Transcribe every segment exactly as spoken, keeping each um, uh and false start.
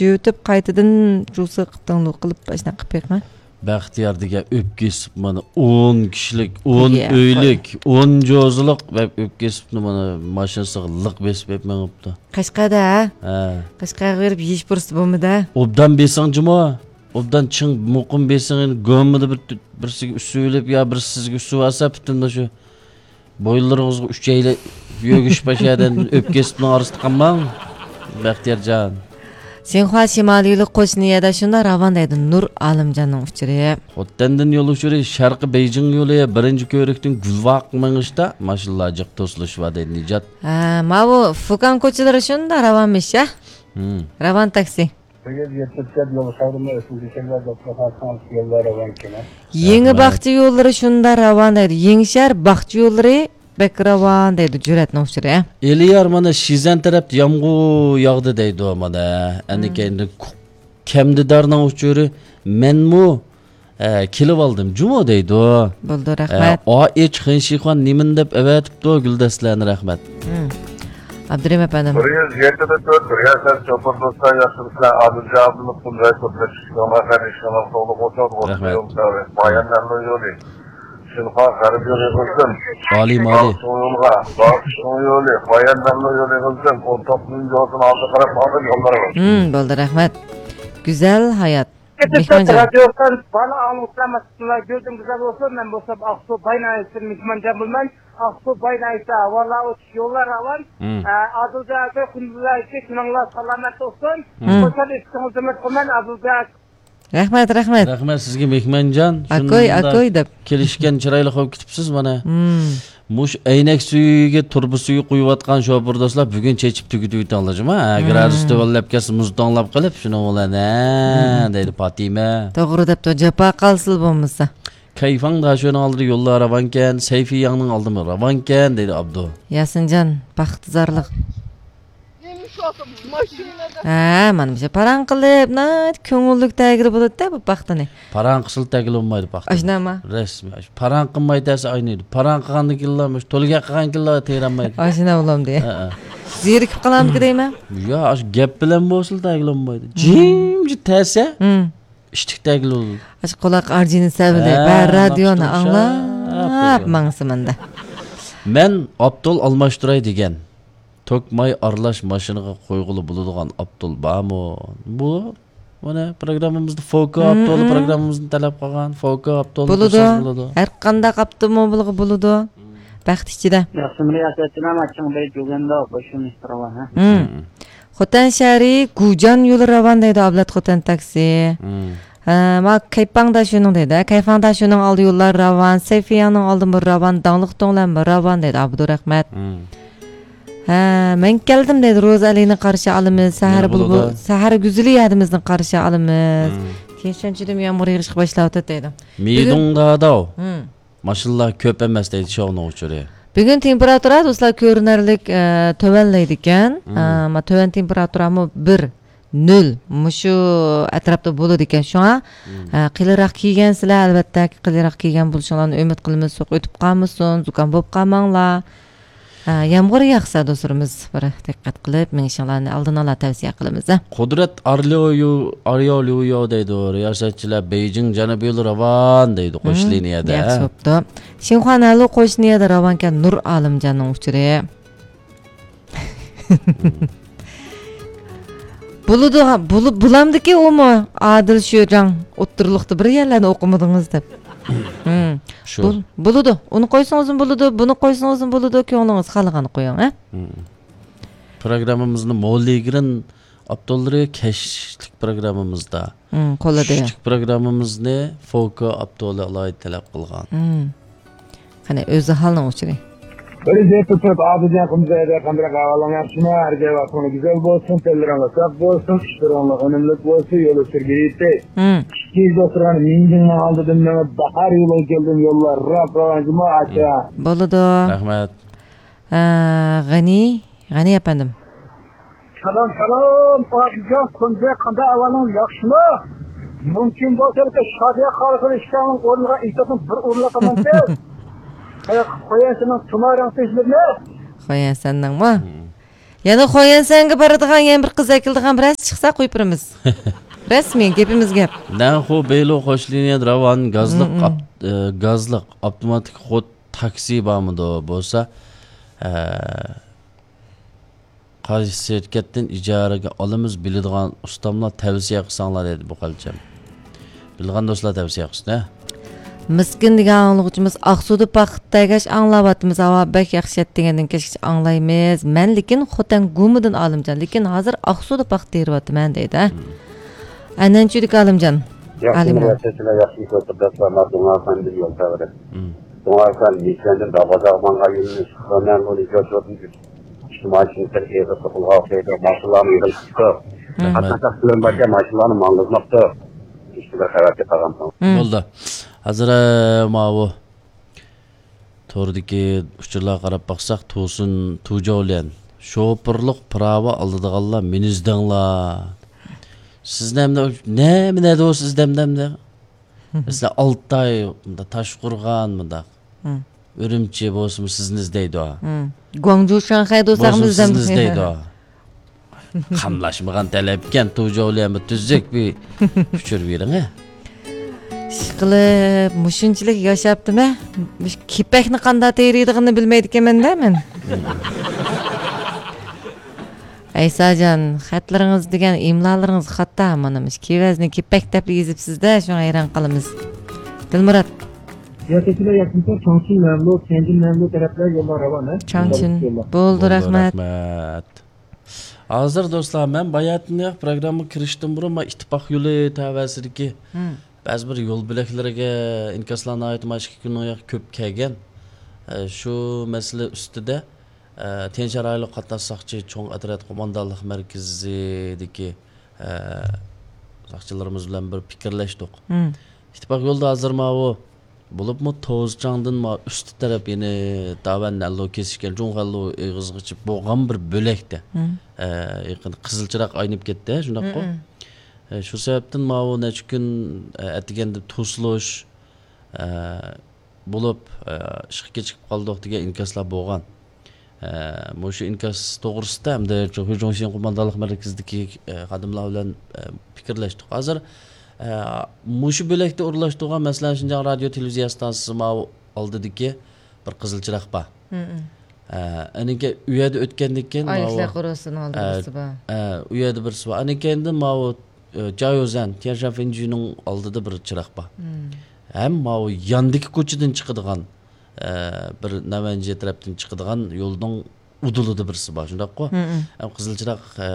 يۇتۇپ قايتىدىن جۇسى قىپتىڭلۇق قىلىپ ئاشۇنداق قىلىپ بېقىڭ. بەختىيار دېگەن ئۆپكە ئېسىپ مانا ئون كىشىلىك، ئون يە، ئۆيلۈك، ئون جوزىلىق بەپ ئۆپكە ئېسىپنى مانا ماشىنىسىغا لىق بېسىپ ئېپ مېڭىپتۇ. قەشقەردە، ھە؟ ھە. قەشقەرگە بېرىپ يېيىش پۇرسىتى بولمىدى. ئوبدان بېسىڭ جۇمۇ. ئوبدان چىڭ مۇقىم بېسىڭ، ئېنى گومىدا بىر، بىرسىگە ئۈسۈۋېلىپ يا بىرسى سىزگە ئۈسۈۋالسا، پۈتۈن شۇ بويۇنلىرىڭىزغا ئۈچەيلەپ يۆگىشىپ ئاشۇ يەردىن ئۆپكە ئېسىپنىڭ ئارىسىدا قالماڭ، بەختىيارجان. شىنخۇا شىمالىي يولى قوشنا يەردە شۇنداق راۋان دەيدۇ، نۇر ئالىمجاننىڭ ئۇچۇرى. خوتەندىن يول ئۇچۇرى شەرقىي بېيجىڭ يولى بىرىنچى كۆۋرۈكتىن گۈلۋاق مېڭىشتا ماشىنىلار جىق توسۇلۇشۇۋاتىدۇ، نىجات. ھە، ماۋۇ فۇكان كوچىلىرى شۇنداق راۋانمىش، ھە؟ ھىم. راۋان تاكسى. سەككىز يەتمىش تۆت يول خەۋىرىنى ئۆتكۈزۈشۈڭلار دوختۇرخانىسىنىڭ يوللار راۋان كېمە. يېڭى رەھمەت. باغچە يوللىرى شۇنداق راۋان دەيدۇ. يېڭىشەھەر باغچە يوللىرى بەك راۋان دەيدۇ، جۈرئەتنىڭ ئۇچۇرى. ئېلىيار مانا شىزەن تەرەپتە يامغۇر ياغدى دەيدۇ مانا. ئەنە ھىم. كەينىدە كەمدىدارنىڭ ئۇچۇرى مەنمۇ، ئە، كېلىۋالدىم جۇمۇ دەيدۇ. بولدى، ئە، رەھمەت. ئا ئېچ خېنشىخۇەن نېمىنى دەپ ئەۋەتىپتۇ، گۈلدەستىلەرنى رەھمەت. ھىم. ئابدۇرېھىم ئەپەندىم. بىر يۈز يەتتە تۆت، بىر يۈز سەكسەن، چوپۇر دوستلار، ياخشىمۇسىلەر؟ ئادىل جاۋابلىق، تۇنجاي قۇرتلۇق، ئىشىڭلار خەير، ئىشىڭلار ساقلىق بولسۇن، رەھمەت. يول سەۋەب. بايان مەمنۇن يولى. شىنخۇا غەربىي يولى قىلسۇن. ئالىي مالىي. باغچىڭ يولغا، باغچىڭ يولى، بايان مەمنۇن يولى قىلسۇن. ئون توققۇزىنچى يولدىن ئالدى قاراپ ماڭىدۇ يوللىرىمىز. ھىم، بولدى، رەھمەت. گۈزەل ھايات. مېھمانجان. رادىيو بالا ئاڭلىغۇچىلار، مەسىلەن، گۈلدىن گۈزەل بولسۇن. مەن بولسام ئاقسۇ باي ناھىيەسىدىن مېھمانجان بولىمەن. ئاقسۇ باي ناھىيەسىدە ھاۋالار ئوچۇق، يوللار راۋان. ھىم. ئە، ئادىلجان ئاكا، كۈندۈزلەركى كۈنۈڭلار سالامەت بولسۇن. ھىم. خوشال ئېيتىشىڭىزنى ئۈمىد قىلىمەن، ئادىلجان ئاكا. رەھمەت، رەھمەت. رەھمەت سىزگە، مېھمانجان. ئاكوي، شۇنداق ئاكوي دەپ. كېلىشكەن، چىرايلىق بولۇپ كېتىپسىز مانا. ھىم. مۇشۇ ئەينەك سۈيىگە، تۇرۇبا سۈيى قۇيۇۋاتقان شوپۇر دوستلار، بۈگۈن چېچىپ تۈگىتىۋېتىڭلار جۇمۇ. ھە، ھىم. گرادۇس تۆۋەنلەپ كەتسە، مۇز توڭلاپ قېلىپ، شۇنىڭ بىلەن، ھە، ھىم. دەيدۇ پاتىمە. توغرا دەپتۇ، جاپا قالسىلا بولمىسا. كەيفاڭ داشۆنىڭ ئالدىدا يوللار راۋانكەن، سەيفىياڭنىڭ ئالدىمۇ راۋانكەن، دەيدۇ ئابدۇ. ياسىنجان، بەختىيارلىق. نېمە شۇ ماشىنىدا؟ ھە، مانا مۇشۇ پاراڭ قىلىپ، ناھايىتى كۆڭۈللۈك تەگىلى بولىدۇ-دە بۇ پاختىنى. پاراڭ قىلسىلا تەگىلى بولمايدۇ پاختا. ئاشۇنداقمۇ؟ رەسمىي. ئاشۇ پاراڭ قىلماي تەسە ئاينىيدۇ. پاراڭ قىلغاندىن كېيىنلا مۇشۇ تولا گەپ قىلغاندىن كېيىنلا تېرەلمەيدۇ. ئاشۇنداق بولامدۇ؟ ھە، ھە. زېرىكىپ قالامدۇ دەيمەن. يا، ئاشۇ گەپ بىلەن بولسىلا تەگىلى بولمايدۇ. ھىم. جىمجىت تەسە. ھىم. ئىشتىك تەگلۇل. ئاشۇ قۇلاق ئارجىنى سەۋلى، ھە، بەر رادىيونى ئاڭلاپ ماڭسىمەندە. مەن ئاپتول ئالماشتۇراي دېگەن. توك ماي ئارىلاش ماشىنىغا قويغىلى بولىدىغان ئاپتول بارمۇ؟ بۇ، مانا، پروگراممىمىزدا فوكا ئاپتولى، پروگراممىمىزنى تەلەپ قىلغان فوكا ئاپتولى بولىدۇ. قوشسىڭىز بولىدۇ. ھەر قانداق ئاپتوموبىلغا بولىدۇ. بەخت ئىچىدە. ياخشىمۇ رىياسەتچىلەر، ماچىڭ بەي جۇگەنداۋ قوشۇن ئىستىرىۋا، ھە؟ ھىم. خوتەن شەھىرى گۇجان يولى راۋان دەيدۇ، ئابلەت خوتەن تاكسى. ھىم. ھە، ما كەيپاڭدا شۇنىڭ دەيدۇ. كەيفاڭدا شۇنىڭ ئالدى يوللار راۋان، سەيفىياڭنىڭ ئالدىمۇ راۋان، داڭلىق توڭلارمۇ راۋان دەيدۇ، ئابدۇرەھمەت. ھىم. ھە، مەن كەلدىم دەيدۇ، روزا ئەلىنى قارشى ئالىمىز، سەھەر بۇلبۇل، سەھەر گۈزىلى ھەدىمىزنى قارشى ئالىمىز. ھىم. كېيىن شۇنچىدىن يامغۇر يېغىشقا باشلاۋاتىدۇ دەيدۇ. مىدۇڭداداۋ. ھىم. ماشىنىلار كۆپ ئەمەس دەيدۇ، شۇنىڭ ئۇچۇرى. بۈگۈن تېمپېراتۇرا، دوستلار، كۆرۈنەرلىك، ئە، تۆۋەنلەيدىكەن. ھىم. ئە، ما تۆۋەن تېمپېراتۇرامۇ بىر، نۆل، مۇشۇ ئەتراپتا بولىدىكەن. شۇڭا، ھىم. ئە، قېلىنراق كىيگەنسىلەر، ئەلۋەتتە، قېلىنراق كىيگەن بولۇشۇڭلارنى ئۈمىد قىلىمىز. سوغۇق ئۆتۈپ قالمىسۇن، زۇكام بولۇپ قالماڭلار. ئە، يامغۇر ياغسا، دوستلىرىمىز، بىر دىققەت قىلىپ مېڭىشىڭلارنى ئالدىن ئالا تەۋسىيە قىلىمىز، ھە. قۇدرەت ئارليۇ، ئاريوليۇ دەيدۇ، رىياسەتچىلەر، بېيجىڭ جەنۇبىي يولى راۋان دەيدۇ، قوش لىنىيەدە. ياخشى بوپتۇ. شىنخۇا نەلۇ قوش لىنىيەدە راۋانكەن، نۇر ئالىمجاننىڭ ئۇچۇرى. بولىدۇ، بولۇ-، بولامدىكى ئۇمۇ، ئادىل شۆجاڭ ئوتتۇرىلىقتا بىر يەرلەرنى ئوقۇمىدىڭىز دەپ. ھىم. شۇ. بول-، بولىدۇ. ئۇنى قويسىڭىزمۇ بولىدۇ، بۇنى قويسىڭىزمۇ بولىدۇ، كۆڭلىڭىز خالىغاننى قويۇڭ، ھە؟ ھىم. پروگراممىمىزنى موللىگرىن ئاپتوللىرى كەچلىك پروگراممىمىزدا. ھىم، قولىدا. چۈشلۈك پروگراممىمىزنى فوكا ئاپتولى ئالاھىدە تەلەپ قىلغان. ھىم. قېنى، ئۆزى ھالنىڭ ئۇچۇرى. بىر يۈز يەتتە تۆت ئادىلجان قۇمزەيدە قانداق ئەھۋالىڭ ياخشىمۇ؟ ھەر جاي ۋاقتىڭلار گۈزەل بولسۇن، تىللىرىڭلار ساق بولسۇن، ئىشلىرىڭلار ئۈنۈملۈك بولسۇن، يول ئۆتۈرگە يېتەي. ھىم. ئىككى يۈز دوختۇرخانا مىڭجىڭنىڭ ئالدىدىن مېڭىپ، باھار يولىغا كەلدىم، يوللار راپ راۋان جۇمۇ ئاچا. بولىدۇ. رەھمەت. ئە، غەنى، غەنى ئەپەندىم. سالام، سالام، ئادىلجان، كۈندە قانداق ئەھۋالىڭ، ياخشىمۇ؟ مۇمكىن بولسا، شادىيە خالىقىنى ئىككىڭلارنىڭ ئورنىغا ئېيتىۋاتسام، بىر ئورۇنلۇق قىلمامسىز؟ قويا، قويا سېنىڭ تۇمارىڭ تېزلىرىنى. قويا سەننىڭمۇ؟ ھىم. يەنە خويەنسەنگە بارىدىغان يەنە بىر قىز ئەكېلىدىغان بىرەرسى چىقسا قويۇپ بېرىمىز. رەسمىي گېپىمىز گەپ. نەنخۇ بېيلۇ خوشلىنىيە راۋان گازلىق، مم، مم. ئاپ-، ئە، گازلىق ئاپتوماتىك خود تاكسى بارمىدۇ؟ بولسا، ئە، قايسى شىركەتتىن ئىجارىگە ئالىمىز، بىلىدىغان ئۇستاملار تەۋسىيە قىلساڭلار دېدى بۇ قالچام. بىلىدىغان دوستلار تەۋسىيە قىلسۇن، ھە؟ مىسكىن دېگەن ئاڭلىغۇچىمىز ئاقسۇدا پاختا تەگەش ئاڭلاۋاتىمىز. ھاۋا بەك ياخشى ئەتىگەندىن كەچكىچە ئاڭلايمىز. مەن لېكىن خوتەن گۇمىدىن ئالىمجان، لېكىن ھازىر ئاقسۇدا پاختا تېرىۋاتىمەن دەيدۇ، ھە؟ مم. ئەنەنچۈدىكى ئالىمجان. ياخشى، ئالىمجان. مۇرەسسەسىلەر ياخشى ئىش ئوتتۇرىدا، مانا دۇڭا ئەپەندى يول تەۋرى. مم. دۇڭا ئەپەندى، يېكەندىن داۋازاغ ماڭغان يولنى ئىشقىلىمەن، بۇنى كۆچۈردۈم. ئىشتىمائىي شىنكىتەر ئېغىرلىق قىلغان ئوخشايدۇ، ماشىنىلارنى يىغىلىشىپتۇ. رەھمەت. قاتناش تەقسىرلىرىم باركەن، ماشىنىلارنى ماڭغۇزماپتۇ. ئىشتىن بىر خەۋەر چىقارغان. مم. بولدى. ھازىر، ئە، ماۋۇ توردىكى ئۇچۇرلارغا قاراپ باقساق، تۇسۇن تۇجاۋليەن شوپۇرلۇق پىراۋا ئالىدىغانلار مېنى ئىزدەڭلار. سىزنى ئەمدى نېمە، نەدە بولسا ئىزدەمدى ئەمدى؟ مەسىلەن، ئالتاي، مۇنداق تاشقورغان، مۇنداق. مم. ئۈرۈمچى بولسىمۇ سىزنى ئىزدەيدۇ. مم. گۇاڭجۇ، شاڭخەي بولساقمۇ بولسىمۇ سىزنى ئىزدەيدۇ. قاملاشمىغان تەلەپكەن، تۇجاۋليەنمۇ تۈزۈك بىر ئۇچۇر بېرىڭە. ئىشقىلىپ، مۇشۇنچىلىك ياشاپتىمەن. مۇشۇ كېپەكنى قانداق تېرىيدىغىنىنى بىلمەيدىكەنمەن-دە مەن. ئەيساجان، خەتلىرىڭىز دېگەن ئىملالىرىڭىز خاتا. مانا مۇشۇ كېۋەزنى كېپەك دەپلا يېزىپسىز-دە، شۇڭا ھەيران قالىمىز. دىلمۇرات. ياكى سىلەر ياكىنسا چاڭچىن مەملۇ، تيەنجىن مەملۇ تەرەپلەر يوللار راۋان، ھە؟ چاڭچىن. يوللار. بولدى، بولدى، رەھمەت. رەھمەت. ھازىر دوستلار، مەن باياتىنراق پروگراممىغا كىرىشتىن بۇرۇن، مانا ئىتتىپاق يولى تەۋەسىدىكى مم. بەزى بىر يول بۆلەكلىرىگە ئىنكاسلار ناھايىتى مانا ئىككى كۈننىڭ ياقى كۆپ كەلگەن. ئە، شۇ مەسىلە ئۈستىدە، ئە، تيەنشان رايونلۇق قاتناش ساقچى چوڭ ئەترەت قوماندانلىق مەركىزىدىكى، ئە، ساقچىلىرىمىز بىلەن بىر پىكىرلەشتۇق. مم. ئىتتىپاق يولىدا ھازىر ماۋۇ بولۇپمۇ توزچاڭدىن ما ئۈستى تەرەپ يەنە داۋەن نەنلۇ كېسىشكەن جۇڭخەنلۇ ئېغىزىغىچە بولغان بىر بۆلەكتە. مم. ئە، يېقىن قىزىل چىراغ ئاينىپ كەتتى، شۇنداققۇ؟ مم. ئە، شۇ سەۋەبتىن ماۋۇ نەچچە كۈن، ئە، ئەتىگەندە توسۇلۇش، ئە، بولۇپ، ئە، ئىشقا كېچىكىپ قالدۇق دېگەن ئىنكاسلار بولغان. ئە، مۇشۇ ئىنكاس توغرىسىدا ھەمدە خۇيجۇڭشىن قوماندانلىق مەركىزىدىكى، ئە، خادىملار بىلەن، ئە، پىكىرلەشتۇق. ھازىر، ئە، مۇشۇ بۆلەكتە ئورۇنلاشتۇرغان، مەسىلەن، شىنجاڭ رادىيو تېلېۋىزىيە ئىستانسىسى ماۋۇ ئالدىدىكى بىر قىزىل چىراغ بار. مم. ئە، ئەنىڭكى ئۇ يەردە ئۆتكەندىن كېيىن ماۋۇ، ئايلىقلار قورۇسىنىڭ ئالدىدا ئە، بىرسى بار. ئە، ئۇ يەردە بىرسى بار. ئەنىڭ كەينىدىن ماۋۇ، ئە، جياۋزەن، تيەنشان فېنجۈنىڭ ئالدىدا بىر چىراغ بار. مم. ھەم ماۋۇ ياندىكى كوچىدىن چىقىدىغان، ئە، بىر نەنۋەنجيې تەرەپتىن چىقىدىغان يولنىڭ ئۇدۇلىدا بىرسى بار، شۇنداققۇ؟ مم. ھەم قىزىل چىراغ، ئە،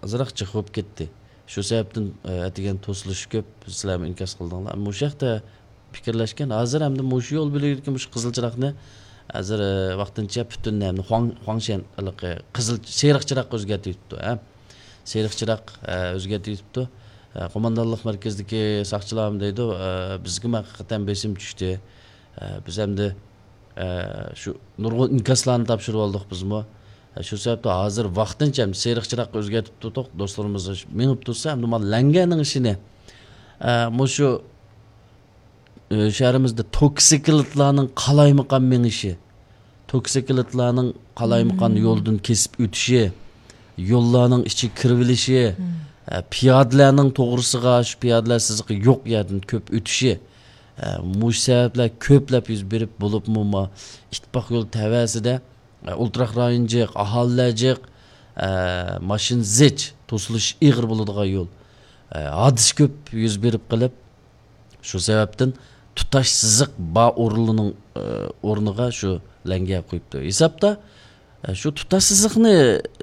ئازراق جىق بولۇپ كەتتى. شۇ سەۋەبتىن، ئە، ئەتىگەن توسۇلۇشى كۆپ، سىلەرمۇ ئىنكاس قىلدىڭلار. مۇشۇ ھەقتە پىكىرلەشكەن. ھازىر ئەمدى مۇشۇ يول بۆلىكىدىكى مۇشۇ قىزىل چىراغنى ھازىر، ئە، ۋاقتىنچە پۈتۈن نەمنى خۇاڭ-، خۇاڭشەن، ھېلىقى قىزىل، سېرىق چىراغقا ئۆزگەرتىۋېتىپتۇ، ھە. سېرىق چىراغ، ئە، ئۆزگەرتىۋېتىپتۇ. ئە، قوماندانلىق مەركىزىدىكى ساقچىلارمۇ دەيدۇ، ئە، بىزگىمۇ ھەقىقەتەن بېسىم چۈشتى. ئە، بىز ئەمدى، ئە، شۇ نۇرغۇن ئىنكاسلارنى تاپشۇرۇۋالدۇق بىزمۇ. ئە، شۇ سەۋەبتىن ھازىر ۋاقتىنچە ئەمدى سېرىق چىراغقا ئۆزگەرتىپ تۇردۇق. دوستلىرىمىز مېڭىپ تۇرسا، ئەمدى مانا لەڭگەنىڭ ئىشىنى، ئە، مۇشۇ، ئە، شەھىرىمىزدە توكسىكلىتلارنىڭ قالايمىقان مېڭىشى، توكسىكلىتلارنىڭ قالايمىقان مم. يولدىن كېسىپ ئۆتۈشى، يوللارنىڭ ئىچىگە كىرىۋېلىشى، مم. ئە، پىيادىلەرنىڭ توغرىسىغا، شۇ پىيادىلەر سىزىقى يوق يەردىن كۆپ ئۆتۈشى، ئە، مۇشۇ سەۋەبلەر كۆپلەپ يۈز بېرىپ، بولۇپمۇ ما ئىتتىپاق يولى تەۋەسىدە، ئە، ئولتۇراق رايون جىق، ئاھالىلەر جىق، ئە، ماشىنا زىچ، توسۇلۇش ئېغىر بولىدىغان يول. ئە، ھادىسە كۆپ يۈز بېرىپ قېلىپ، شۇ سەۋەبتىن تۇتاش سىزىق بار ئورۇنلىرىنىڭ، ئە، ئورنىغا شۇ لەڭگە قويۇپتۇ. ھېسابتا، ئە، شۇ تۇتاش سىزىقنى،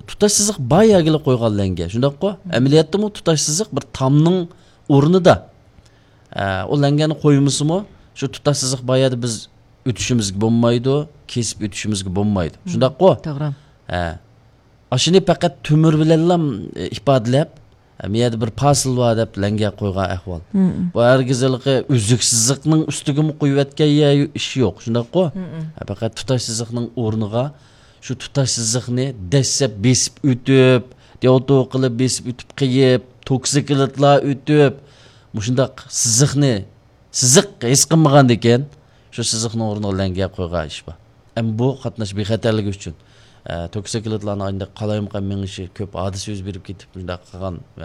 تۇتاش سىزىق بار يەرگىلا قويغان لەڭگە. شۇنداققۇ؟ مم. ئەمەلىيەتتىمۇ تۇتاش سىزىق بىر تامنىڭ ئورنىدا. ئە، ئۇ لەڭگەنى قويمىسىمۇ، شۇ تۇتاش سىزىق بار يەردە بىز ئۆتۈشىمىزگە بولمايدۇ، كېسىپ ئۆتۈشىمىزگە بولمايدۇ. مم. شۇنداققۇ؟ توغرا. ئە. ئاشۇنى پەقەت تۆمۈر بىلەنلا، ئە، ئىپادىلەپ، ئە، مۇ يەردە بىر پاسىل بار دەپ لەڭگە قويغان ئەھۋال. مم. بۇ ھەرگىز ھېلىقى ئۈزۈك سىزىقنىڭ ئۈستىگىمۇ قويۇۋەتكەن يە-، ئىش يوق. شۇنداققۇ؟ مم. ئە، پەقەت تۇتاش سىزىقنىڭ ئورنىغا شۇ تۇتاش سىزىقنى دەسسەپ بېسىپ ئۆتۈپ، دېۋتۇ قىلىپ بېسىپ ئۆتۈپ قېيىپ، توكسىكلىتلار ئۆتۈپ، مۇشۇنداق سىزىقنى، سىزىق ھېس قىلمىغاندىكىن، شۇ سىزىقنىڭ ئورنىغا لەڭگە قويغان ئىش بار. ئەمما بۇ قاتناش بىخەتەرلىكى ئۈچۈن. ئە، توكسىكلىتلارنىڭ ئاينداق قالايمىقان مېڭىشى، كۆپ ھادىسە يۈز بېرىپ كېتىپ، شۇنداق قىلغان، ئە،